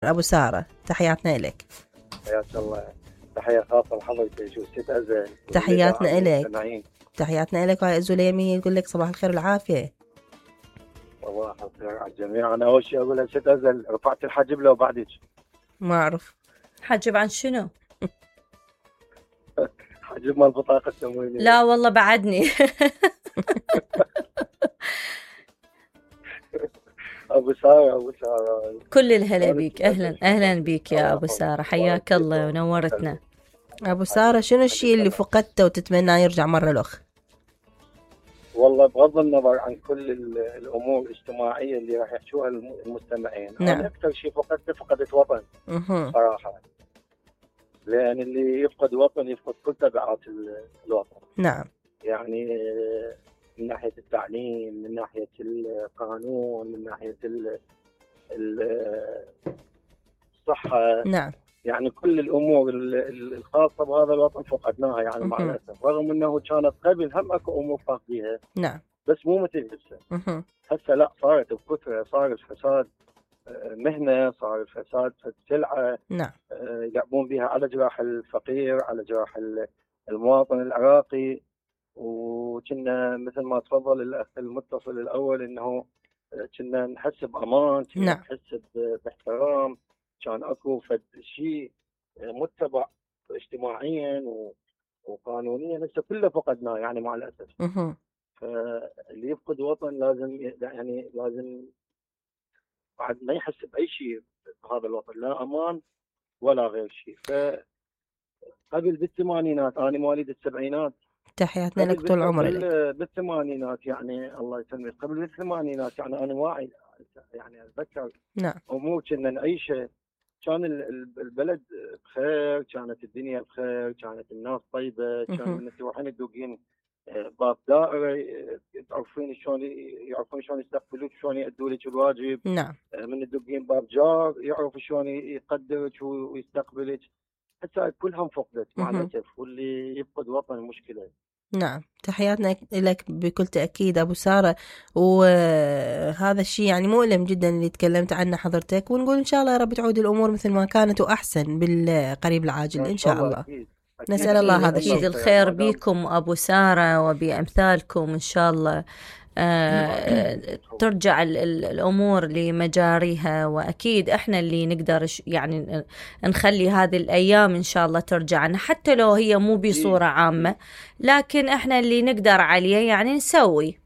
أبو سارة، تحياتنا إليك. حياك الله، تحية خاصة لحضرتك وست أزل. تحياتنا إليك، تحياتنا إليك. وهاي أزوليمي يقول لك صباح الخير والعافية. صباح الخير على الجميع. أنا أول شيء أقول لها ست أزل، رفعت الحجب لو بعدك؟ ما أعرف حجب عن شنو؟ حجب مال البطاقة التموينية. لا والله بعدني. أبو سارة كل الهلا بيك، أهلا بيك يا أبو سارة، حياك الله ونورتنا. أبو سارة، شنو الشيء اللي فقدته وتتمنى يرجع مرة الأخ؟ والله بغض النظر عن كل الأمور الاجتماعية اللي راح يحشوها المستمعين، نعم. أنا أكثر شيء فقدت وطن صراحة، لأن اللي يفقد وطن يفقد كل تبعات الوطن. نعم. يعني من ناحية التعليم، من ناحية القانون، من ناحية الصحة. نعم. يعني كل الأمور الخاصة بهذا الوطن فقدناها يعني مع الأسف، رغم أنه كانت قبل هم أكو أمور فاقديها. نعم. بس مو مثل هسه. هسه لا، صارت بكثرة، صار الفساد مهنة، صار الفساد سلعة. نعم. يلعبون بها على جراح الفقير، على جراح المواطن العراقي. وكنا مثل ما تفضل الأخ المتصل الأول إنه كنا نحس بأمان، كنا نحس باحترام، كان أكو فد شيء متبع اجتماعيا وقانونيا. هسه كله فقدناه يعني مع الأسف. فاللي يفقد وطن لازم بعد ما يحس بأي شيء بهذا الوطن، لا أمان ولا غير شيء. فقبل بالثمانينات، أنا مواليد السبعينات، تحياتنا لك طول عمرك. بالثمانينات يعني الله يسلمك، قبل بالثمانينات يعني أنا واعي، يعني أتذكر نعم أمور كنا نعيشها. كان البلد بخير، كانت الدنيا بخير، كانت الناس طيبة. كان من تروحين تدوقين باب دائرة تعرفين شلون يعرفون شلون يستقبلوك، شلون يأدوا لك الواجب. نعم. من تدوقين باب جار يعرف شلون يقدرك ويستقبلك. هسه كلهم فقدت مع الأسف، واللي يفقد وطن مشكلة. نعم. تحياتنا لك بكل تأكيد أبو سارة. وهذا الشيء يعني مؤلم جدا اللي تكلمت عنه حضرتك، ونقول إن شاء الله يا رب تعود الأمور مثل ما كانت وأحسن بالقريب العاجل إن شاء الله. أكيد. نسأل الله هذا الشيء. الخير بيكم أبو سارة وبأمثالكم إن شاء الله ترجع الأمور لمجاريها. وأكيد إحنا اللي نقدر يعني نخلي هذه الأيام إن شاء الله ترجعنا، حتى لو هي مو بصورة عامة، لكن إحنا اللي نقدر عليه يعني نسوي.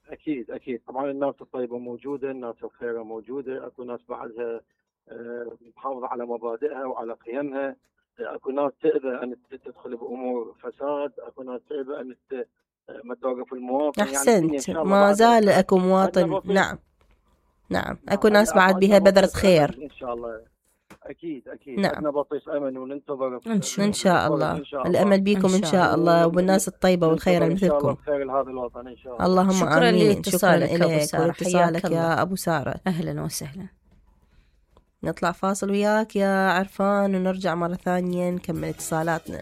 أكيد طبعا الناس الطيبة موجودة، الناس الخيرة موجودة، أكو ناس بعدها محافظة على مبادئها وعلى قيمها. أكو ناس تأبى أن تدخل بأمور فساد، أكو ناس تأبى أن ما توقف المواطن. أحسنت، يعني ما زال أكو مواطن. نعم أكو ناس بعد بها بذرة خير إن شاء الله. أكيد نعم. عندنا بطيس أمل وننتظر إن شاء الله. الأمل بيكم إن شاء الله وبالناس الطيبة والخير مثلكم. خير لهذا الوطن إن شاء الله. اللهم شكرا آمين. شكرا لك واتصالك يا أبو سارة. أهلا وسهلا. نطلع فاصل وياك يا عرفان ونرجع مرة ثانية نكمل اتصالاتنا.